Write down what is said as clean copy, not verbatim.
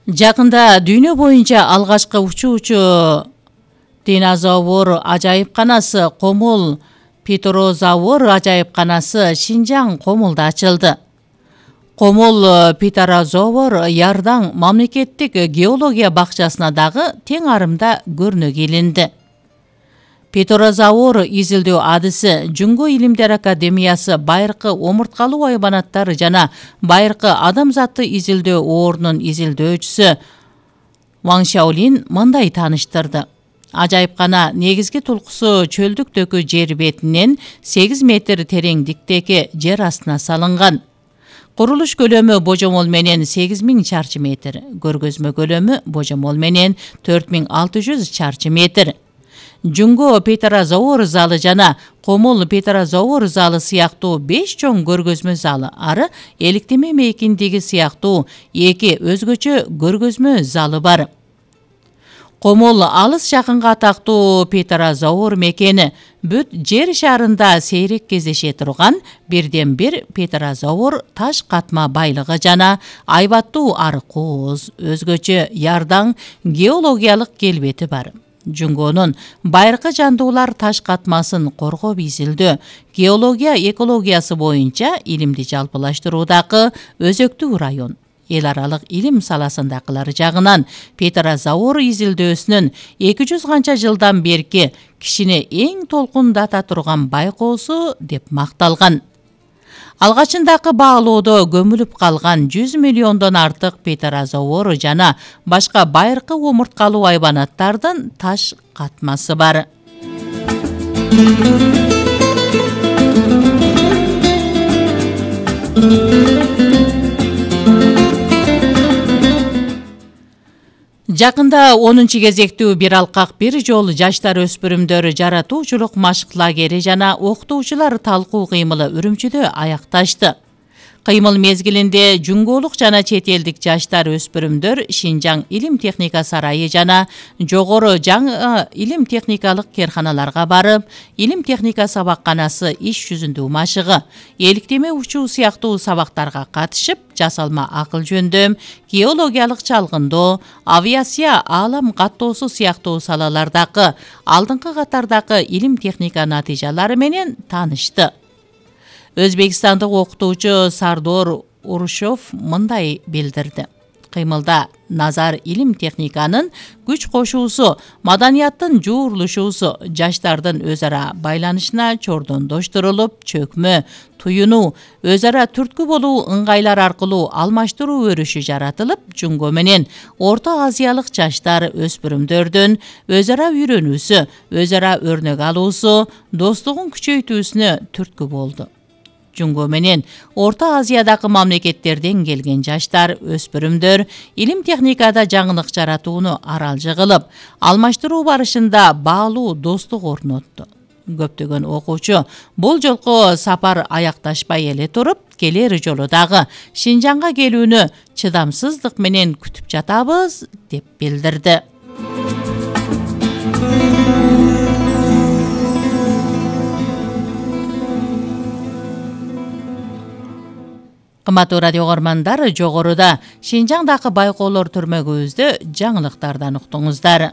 Жакында дүйнө боюнча алгачкы учуучу динозавр ажайыпканасы Комул Питерозавр ажайыпканасы Шинжаң Комулда ачылды. Комул Питерозавр Ярдан мамлекеттик геология бакчасына дагы тең арымда көрнө келинди. Питерозавр изилдөө адысы Жүнгө Илимдер Академиясы байыркы омурткалуу айбанаттар жана байыркы адамзатты изилдөө ордунун изилдөөчүсү Ван Шаолин мындай тааныштырды. Ажайыпкана негизги тулкусу чөлдүктөгү жер бетинен 8 метр тереңдиктеги жер астына салынган. Курулуш көлөмү божомол менен 8000 чарчы метр, көргөзмө көлөмү божомол менен 4600 чарчы метр. Жүнгө Питерозавр залы жана Комул Питерозавр залы сыяктуу 5 чоң көргөзмө залы ары эликтеме мейкиндиги сыяктуу 2 өзгөчө көргөзмө залы бар. Комул алыс жакынга атактуу Питерозавр мекени бүт жер шарында сейрек кездеше турган бирден бир Питерозавр таш катма байлыгы жана айбаттуу ары кооз, өзгөчө Ярдан геологиялык келбети бар. Жүнгөнүн байыркы жандуулар таш катмасын коргоп изилдөө, геология экологиясы боюнча илимди жалпылаштыруудагы өзөктүү район. Эл аралык илим саласындагылар жагынан Питерозавр изилдөөсүнүн 200 канча жылдан берки кишини эң толкундата турган байкоосу деп макталган. Алгачындагы баалоодо көмүлүп калган 100 миллиондон артык Питерозавр жана башка байыркы омурткалуу айбанаттардын таш катмасы бар. Жакында 10-кезектүү бир алкак бир жол жаштар өспүрүмдөр жаратуучулук машык лагери жана окутуучулар талкуу кыймылы Үрүмчүдө аякташты. Кыймыл мезгилинде жүнгөлүк жана чет элдик жаштар өспүрүмдөр Шинжаң илим техника сарайы жана жогору жаңы илим техникалык керканаларга барып, илим техника сабакканасы иш жүзүндө машыгы, эликтеме учуу сыяктуу сабактарга катышып, жасалма акыл жөндөм, геологиялык чалгындоо, авиация, аалам каттоосу сыяктуу салалардагы алдыңкы катардагы илим техника натыйжалары менен таанышты. Өзбекстандык окутуучу Сардор Урушов мындай билдирди. Кыймылда назар илим техниканын күч кошуусу, маданияттын жуурулушуусу, жаштардын өз ара байланышына чордондоштурулуп, чөкмө, туюнуу, өз ара түрткү болуу ыңгайлар аркылуу алмаштыруу өрүшү жаратылып, Жүнгө менен Орто Азиялык жаштар өспүрүмдөрдүн өз ара үйрөнүүсү, өз ара өрнөк алуусу, достугун күчөйтүүсүнө түрткү болду. Жүнгө менен Орто Азиядагы мамлекеттерден келген жаштар өспүрүмдөр илим техникада жаңылык жаратууну аралжы кылып, алмаштыруу барышында баалуу достук орнотту. Көптөгөн окуучу бул жолку сапар аякташпай эле туруп, келер жолу дагы Шинжаңга келүүнү чыдамсыздык менен күтүп жатабыз деп билдирди. Кымбаттуу радио көрөрмандар, жогоруда Шинжаңдагы байкоолор түрмөгүбүздө жаңылыктардан уктуңуздар.